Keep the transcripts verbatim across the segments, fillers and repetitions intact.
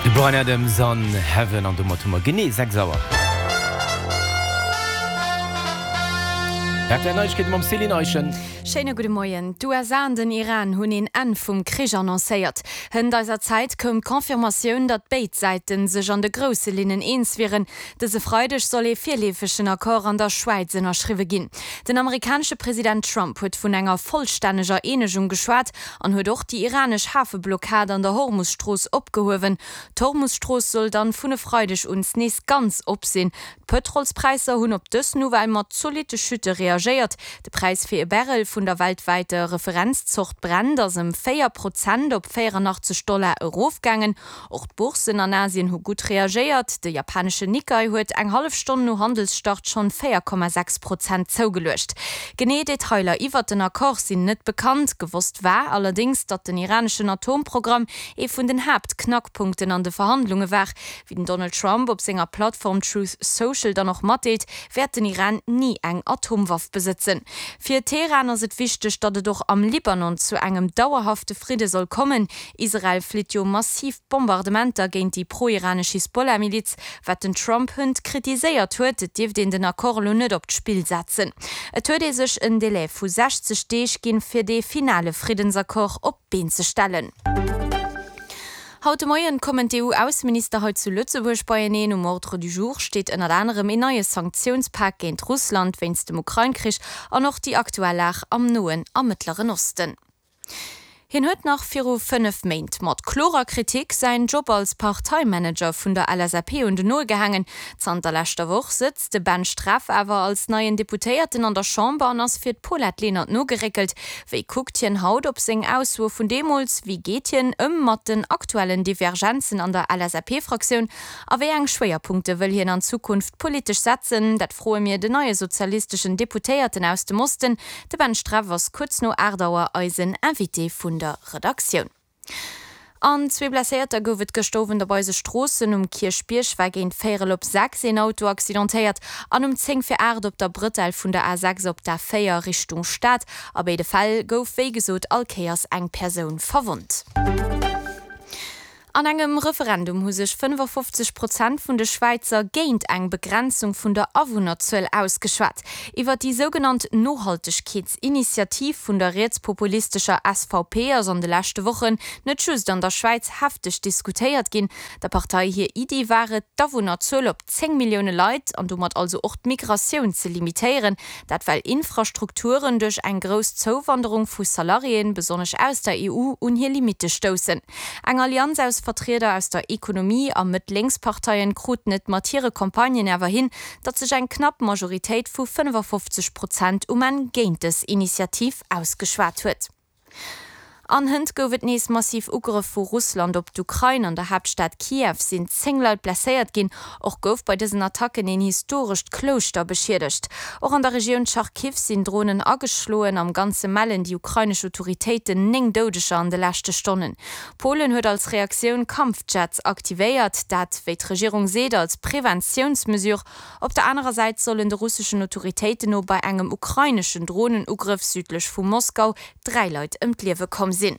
De Bryan Adams an Heaven an domat hu mer genee sechs Auer. R T L Neiegkeete mam Céline Eischen. Schéine gudde Moien. D'U S A an den Iran hunn een Enn vum Krich annoncéiert. Hënt eiser Zäit koum d'Confirmatioun, datt béid Säite sech an de grousse Linnen eens wieren. Dëse Freideg soll ee virleefegen Accord an der Schwäiz ënnerschriwwe ginn. Den amerikanesche President Trump huet vun enger vollstänneger Eenegung geschwat an huet och déi iranesch Hafeblockad an der Hormus-Strooss opgehuewen. D'Hormus-Strooss soll dann vun e Freideg un nees ganz op sinn. D'Pëtrolspräisser hunn op dës Nouvelle mat zolitte Chute reagéiert. De Präis fir e Barrel vun der weltwäiter Referenzzort Brent ass ëm véier Prozent op véierunachtzeg Dollar erofgaangen. Och d'Bourssen an Asien hu gutt reagéiert. De japaneschen Nikkei huet eng hallef Stonn no Handelsstart schonn véier Komma sechs Prozent zougeluecht. Genee Detailer iwwert den Accord sinn net bekannt. Gewosst war allerdéngs, datt den iraneschen Atomprogramm ee vun den Haaptknackpunkten an de Verhandlunge war. Wéi den Donald Trump op senger Plattform Truth Social dann och matdeelt, wäert den Iran ni eng Atomwaff besëtzen. Fir Teheran ass et wichteg, datt et och am Libanon zu engem dauerhafte Fridde soll kommen. Israel flitt jo massiv Bombardementer géint déi pro-iranesch Hisbollah-Miliz, wat den Trump hënt kritiséiert huet. Et dierft een den Accord elo net op d'Spill setzen. Et huet ee sech en Delai vu sechzeg Deeg ginn, fir dee finale Friddensaccord op d'Been ze stellen. Haut de Moien kommen d'E U-Ausseminister hei zu Lëtzebuerg beieneen. Um Ordre du jour steet ënnert anerem een neie Sanktiounspak géint Russland wéinst dem Ukrain-Krich an och déi aktuell Lag am Noen a Mëttleren Osten. Hien huet nach viru fënnef Méint mat klorer Kritik säin Job als Parteimanager vun der L S A P un den Nol gehaangen. Zanter leschter Woch sëtzt de Ben Streff awer als neien Deputéierten an der Chamber an ass fir d'Paulette Lenert nogeréckelt. Wéi kuckt hien haut op seng Aussoe vun deemools? Wéi geet hien ëm mat den aktuellen Divergenzen an der L S A P-Fraktioun? A wéi eng Schwéierpunkte wëll hien an Zukunft politesch setzen? Dat froe mir den neie sozialisteschen Deputéierten aus dem Osten. De Ben Streff ass kuerz no aacht Auer eisen Invité vun der Redaktioun. An zwee Blesséierter gouf et gëschter Owend op eise Stroossen. Um Kierchbierg war géint véierel op sechs een Auto accidentéiert an um zéng vir aacht op der Brëtell vun der A sechs op der A véier Richtung Stad. A béide Fäll gouf wéi gesot all Kéiers eng Persoun verwonnt. An engem Referendum hu sech fënnefafofzeg Prozent vun de Schwäizer géint eng Begrenzung vun der Awunnerzuel ausgeschwat. Iwwer déi sougenannt Nohaltegkeetsinitiativ vun der rietspopulistescher S V P ass an de leschte Wochen net just an der Schwäiz hefteg diskutéiert ginn. Der Partei hir Iddi war et, d'Awunnerzuel op zéng Millioune Leit an domat also och d'Migratioun ze limitéieren. Dat well Infrastrukturen duerch eng grouss Zouwanderung vu Salariéen, besonnesch aus der E U, un hir Limitte stoussen. Eng Allianz aus Vertrieder aus der Ekonomie a Mëtt-Lénks-Parteien kruten et mat hire Campagnen awer hin, datt sech eng knapp Majoritéit vu fënnefafofzeg Prozent um Enn géint dës Initiativ ausgeschwat huet. An hënt gouf et nees massiv Ugrëff vu Russland op d'Ukrain. An der Haaptstad Kiew sinn zéng Leit blesséiert ginn. Och gouf bei dësen Attacken een historescht Klouschter beschiedegt. Och an der Regioun Charkiw sinn Dronen ageschloen. Am Ganze mellen déi ukrainesch Autoritéiten néng Doudeger an de leschte Stonnen. Polen huet als Reaktioun Kampfjets aktivéiert, dat, wéi d'Regierung seet, als Preventiounsmesure. Op der anerer Säit sollen de russeschen Autoritéiten no bei engem ukraineschen Dronenugrëff südlech vu Moskau dräi Leit ëm d'Liewe komm sinn.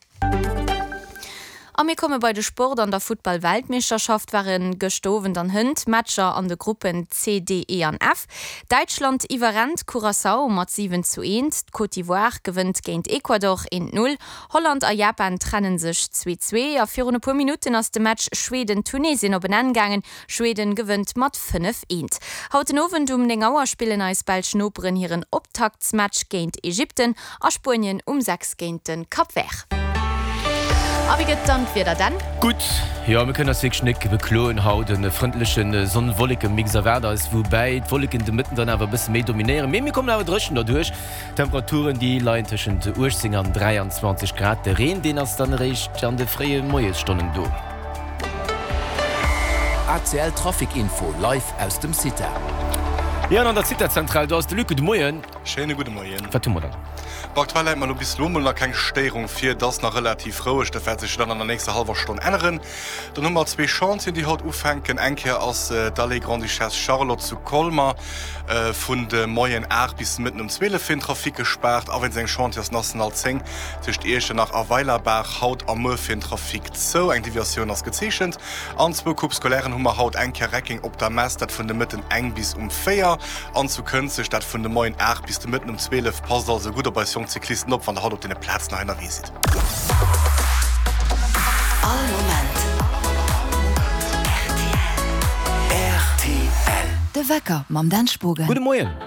A mir komme bei de Sport. An der Futtball-Weltmeeschterschaft ware gëschter Owend an hënt Matcher an de Gruppen C, D, E an F. Däitschland iwwerrennt Curaçao mat siwen zu eent, d'Côte d'Ivoire gewënnt géint Ecuador eent Null, Holland a Japan trenne sech zwee zwee a virun e puer Minutten ass de Match Schweden-Tunesien op en Enn gaangen, Schweden gewënnt mat fënnef eent. Haut den Owend um néng Auer spillen eis belsch Noperen hiren Optaktsmatch géint Ägypten a Spuenien um sechs géint de Cap Vert. A wéi gëtt dann d'Wieder dann? Gutt, jo, mir kënnen eis wierklech net bekloen haut. E frëndleche Sonn-Wolleke-Mix erwaart eis, woubäi d'Wolleken de Mëtten dann awer e bësse méi dominéieren. Mee mir kommen awer dréchen derduerch. D'Temperaturen, déi leien tëschent uechtzéng an dräianzwanzeg Grad. De Reen, deen ass dann eréischt an de fréie Moiesstonnen do. A C L Trafic Info live aus dem CITA. Jo, an an der CITA-Zentral, do ass de Luc. Gudde Moien. Schéine gudde Moien. Wat hu mer dann? Bon, aktuell läit mer elo bis elo mol nach keng Stéierung vir. Et ass nach relativ roueg, dat wäert sech dann an der nächster hallwer Stonn änneren. Dann hu mer zwee Chantieren, déi haut ufänken. Eng Kéier ass d'Allée Grande-Duchesse Charlotte zu Colmer vun de Moien aacht bis de Mëtten um zwielef fir den Trafic gespaart. A wéinst engem Chantier ass d'National zéng tëscht Iechternach a Weilerbaach haut a muer fir den Trafic zou. Eng Deviatioun ass gezeechent. An zwou Coupes scolairen hu mer haut, eng Kéier Reckeng op der Mess, dat vun de Mëtten eng bis um véier, an zu Kënzeg, dat vun de Moien aacht bis de Mëtten um zwielef. Passt also gutt op eis jonk Cyclisten op, wann der haut op deene Plazen hei ënnerwee sidd. All Moment rtl. De Wecker mam Dan Spogen. Gudde Moien.